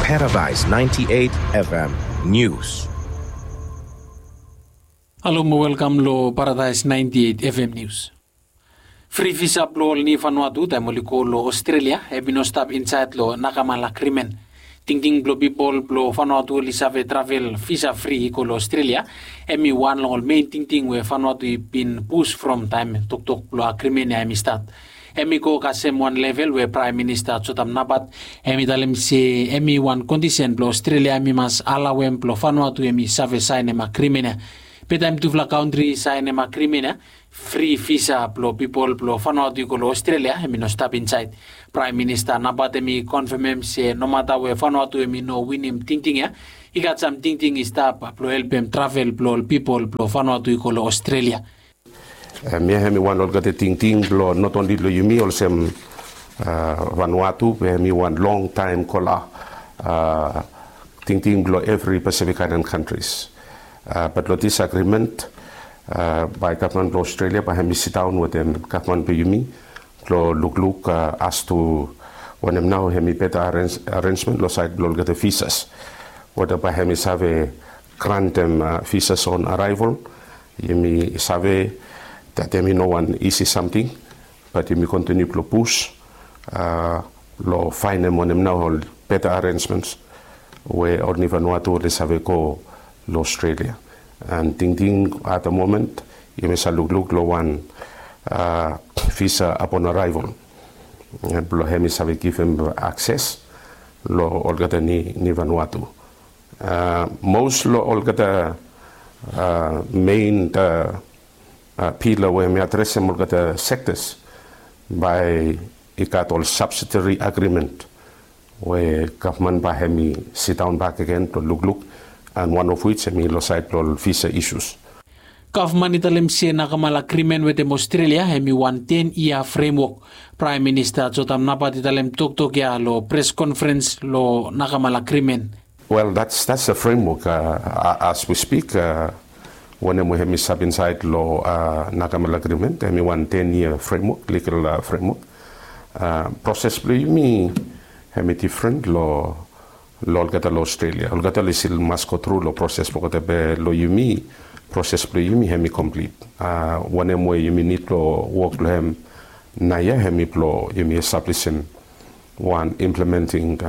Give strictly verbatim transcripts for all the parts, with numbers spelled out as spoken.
Paradise ninety-eight F M News. Halo mo welkam lo Paradise ninety-eight F M News. Fri visa blo ol ni Vanuatu taem oli go lo Australia hemi no stap insaed lo Nakamal Agreement. Tingting blo pipol blo Vanuatu oli save travel visa fri i go lo Australia hemi wan long ol mein tingting we Vanuatu i bin pus from taem toktok blo agrimen ya hemi stat. Hemi go kasem wan level we Praem Minista Jotam Napat hemi talem se hemi wan kondisen blo Australia hemi mas alaoem blo Vanuatu hemi save saenem agrimen ya. Be taem tufala kantri i saenem agrimen ya, fri visa blo pipol blo Vanuatu i go lo Australia hemi no stap insaed. Praem Minista Napat hemi konfemem se nomata we Vanuatu hemi no winim tingting ya, i gat sam tingting i stap blo helpem travel blo ol pipol blo Vanuatu i go lo Australia. Hemia hemi wan olgeta tingting blo not only lo yumi olsem Vanuatu be hemi wan longtaem kola tingting blo evri Pacific Island countries. Bat lo this agreement bae gavman blo Australia bae hemi sidaon wetem gavman blo yumi blo lukluk as to wanem nao hemi beta arenjmen lo saed blo olgeta visas. Weta bae hemi save grantem visas on arrival. Yumi save that hemi no wan isi samting, bat yumi kontiniu blo pus lo faenem wanem nao ol beta arenjmens we ol ni Vanuatu oli save go lo Australia. An tingting at the moment yumi save lukluk lo wan visa upon arrival blo hemi save givim akses lo olgeta ni Vanuatu. Mos lo olgeta mein pila we hemi adresem olgeta sektas bae i gat ol subsidiary agreement we gavman bae hemi sidaon bakegen blo lukluk, an wan of wits hemi lo saed blo ol visa isus. Gavman i talem se Nakamal Agrimen wetem Australia hemi wan ten yia fremwok. Praem Minista Jotam Napat i talem toktok ya lo pres konferens lo Nakamal Agrimen. Wel, that's a framework as we speak. Wanem we hemi stap insaed lo Nakamal Agrimen hemi wan ten yia fremwok, ligal fremwok. Proses blo yumi hemi difren lo lo olgeta lo Australia. Olgeta oli stil mas go tru lo proses blo olgeta be lo yumi, proses blo yumi hemi komplit. Wanem we yumi nid lo wok lo hem naoia hemi blo yumi establisim wan implementing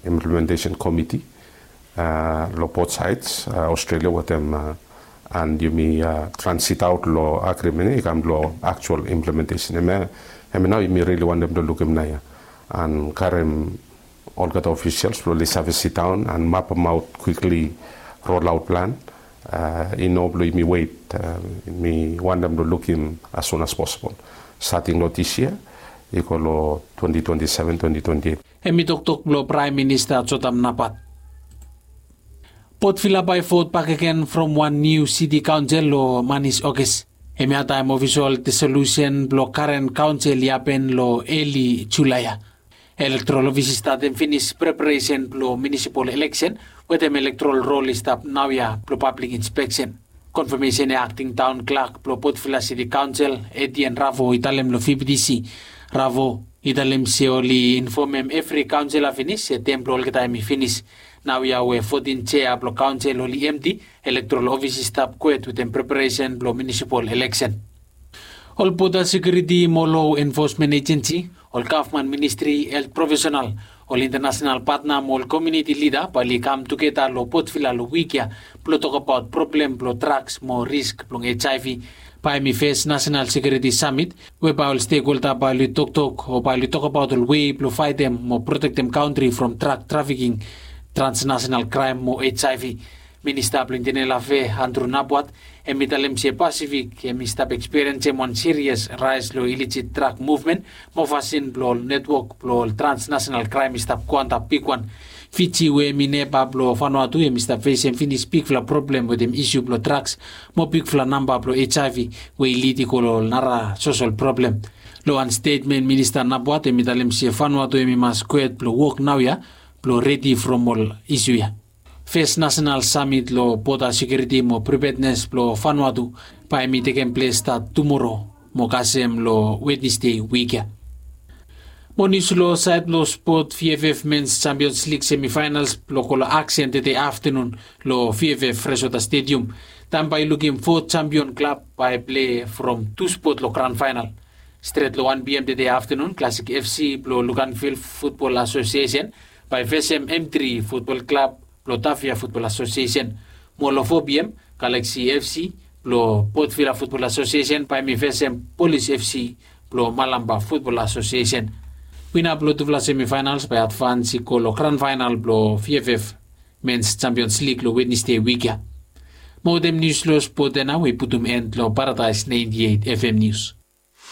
implementation komiti lo both sides Australia wetem an yumi transit aot lo agrimen ya i kam lo aktual implementation. Hemia nao yumi rili wantem blo lukim naoia an karem olgeta ofisials blo oli save sidaon an mapemaot kwikli rolaot plan. I no blo yumi wet, yumi wantem blo lukim as soon as possible, stating lo this year i go lo twenty twenty-seven, twenty twenty-eight. Hemi toktok blo Praem Minista Jotam Napat. Port Vila bae vot bakegen from wan niu siti kaonsel lo manis Oges. Hemia taem ofisol disolusen blo karen kaonsel i hapen lo eli Julae ya. Elektorol ofis i statem finis preparesen blo minisipol eleksen wetem elektorol rol i stap naoia blo pablik inspeksen. Konfamesen ya akting taon klak blo Port Vila Siti Kaonsel, Etienne Ravo, i talem lo V B T C. Ravo i talem se oli infomem evri kaonsela finis se tem blo olgeta hemi finis. Naoia we fotin jea blo kaonsel oli emti, elektorol ofis i stap kwet wetem preparesen blo minisipol eleksen. Ol boda sekiuriti mo lo enfosmen ejensi, ol gavman ministri, helt profesenal, ol intanasenal patna mo ol komuniti lida bae oli kam tugeta lo Port Vila lo wik ya blo tokbaot problem blo draks mo risk blong HIV. Bae hemi fes nasenal sekiuriti samit we bae ol stekholda bae oli toktok o bae oli tokbaot ol wei blo faetem mo protektem kantri from drak trafiking, transnasenal kraem mo HIV. Minista blong Internal Afea, Andrew Napuat, hemi talem se Pasifik hemi stap ekspiriensem wan sirias raes lo ilejit drak muvmen mo fasin blo ol netwok blo ol transnasenal kraem i stap go antap bigwan. Fiji we hemi neba blo Vanuatu hemi stap fesem finis bigfala problem wetem isu blo draks mo bigfala namba blo HIV we i lid i go lo ol nara sosol problem. Lo wan stetmen Minista Napuat hemi talem se Vanuatu hemi mas kwet blo wok naoia blo redi from ol isu ya. Fes nasenal samit lo boda sekiuriti mo pripednes blo Vanuatu bae hemi tekem ples stat tumoro mo kasem lo Wednesde wik ya. Mo nius long saed blong spot, vff mens champions lig semifainals blong go long aksen tede aftenun long vff fresota stedium. Taem bae i lukim fo champion klab bae i pilei from tu spot long gran faenal. Stret long wan pm tede aftenun, klasik fc blong lukanvil futbol asosiesen bae i fesem m tri futbol klab blong tavia futbol asosiesen. Mo long fo pm, galaksi fc blong potvila futbol asosiesen bae i fesem polis fc blong malamba futbol asosiesen. Wina blong tufala semifaenals bae i advans i go long gran faenal blong vff mens champions lig long wednesde wik ya. Mo wetem nius long spot ya nao i putum en long paradaes naenti eit fm nius.